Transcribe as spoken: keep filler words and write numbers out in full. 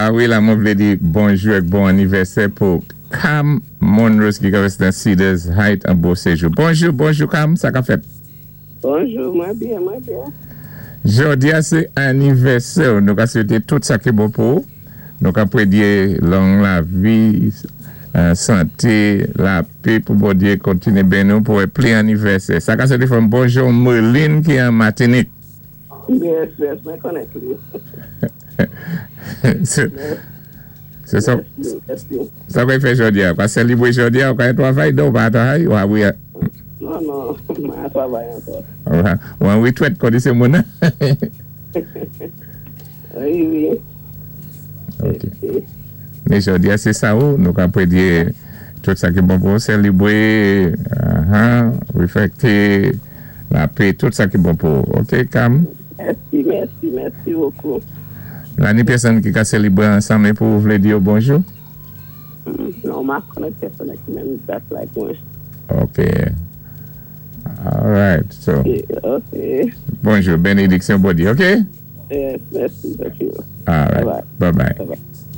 Ah wi, la mwen vlé di bonjou èk bon anivèsè pou Cam Monrose ki ka wès nan Cedars Heights an Beauséjour. Bonjou, bonjou Cam, sa ka fèt? Bonjou, mwen byen, mwen byen. Jòdi a sé anivèsè, nou ka swété tout sa ki bon pou ou. Nou ka pwédyé long lavi, euh, santé, lapè pou Bondyé kontiné béni nou pou pli anivèsè. Sa ka swété fòm bonjou Merlin ki an Matinik. Yes, yes, mwen konnèt li. Sé sé sa, Mèsi, mèsi. Sa ka fè jòdi a? Ka sélibwé jòdi a, ou ka twavay, non, pa twavay, ou wi. Non, non, mwen twavay ankò. Ou an witwèt kon di sé moun. Wi, wi. Ok. Mé jòdi a sé sa ou, nou ka pwédyé tout sa ki bon pou sélibwé, uh réfèkté, lapè, tout sa ki bon pou. Ok, Cam? Mèsi, mèsi, mèsi bokou. La ni pèsonn ki ka sélibwé ansanm pou vlé di bonjou? Mm, Non, mwen konnèt pèsonn ki menm dat like mwen. Ok. All right. So, Ok, ok. bonjou, bénédiksyon Bondyé, ok? Yes, mèsi, thank you. All right. Bye-bye. Bye-bye. Bye-bye.